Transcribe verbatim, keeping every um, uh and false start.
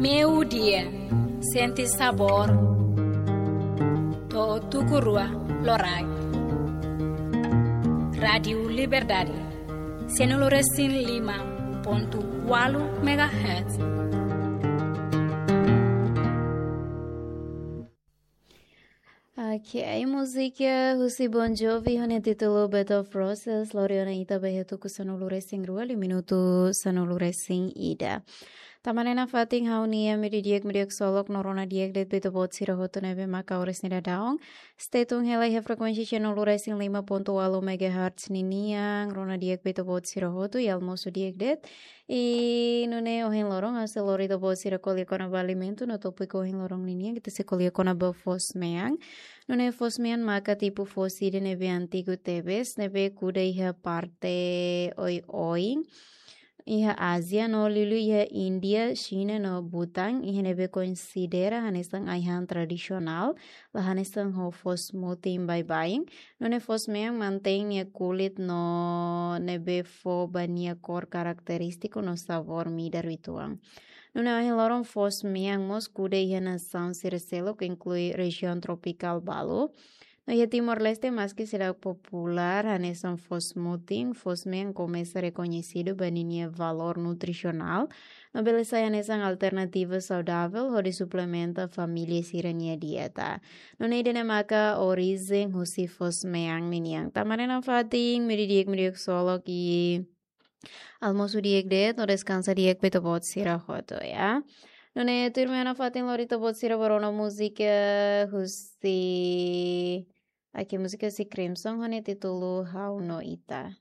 Meio-dia, sente sabor. To'o tuku rua loraik. Rádiu Liberdade, sanulu-resin-lima pontu ualu megahertz. Ok, múzika husi Bon Jovi ho nia títulu Bed of Roses, lori ona ita ba iha tuku sanulu-resin-rua, liu minutu sanulu-resin-ida. Tanba ne'e nafatin ha'u-nia meio-dia di'ak, meio-dia ksolok no rona di'ak de'it ba ita-boot sira hotu ne'ebé maka oras ne'e daudaun state tun hela iha frekuénsia sanulu-resin-lima pontu ualu megahertz ninian, rona di'ak ba ita-boot sira hotu, i almosu di'ak de'it. I nune'e ohin loron ha'u sei lori ita-boot sira ko'alia kona-ba alimentu no tópiku ohin loron ninian, ita sei ko'alia kona-ba foos-mean. Nune'e foos-mean maka tipu foos ida ne'ebé antigu tebes, ne'ebé kuda iha parte oioin iha Ázia no liuliu iha Índia, Xina no Bután, iha ne'ebé konsidera hanesan ai-han tradisionál, la hanesan ho foos mutin baibain. Nune'e foos-mean mantein nia kulit no ne'ebé fó ba nia kór karakterístiku no sabór midar uitoan. Nune'e ohin loron foos-mean mós kuda iha nasaun sira seluk, inklui rejiaun tropikál balu. No iha Timor-Leste, maski seidauk populár hanesan foos mutin, foos-mean komesa rekoñesidu ba ninia valór nutrisionál no bele sai hanesan alternativa saudavel hodi suplementa família sira-nia dieta. Nune'e ida-ne'e maka orijen husi foos-mean ninian. Tanba ne'e nafatin, meio-dia di'ak, meio-dia ksolok, i almosu di'ak de'it no deskansa di'ak ba ita-boot sira hotu, ya. Nune'e tuirmai nafatin lori ita-boot sira ba rona múzika husi, ok, múzika husi Crimson ho nia títulu Ha'u no Ita.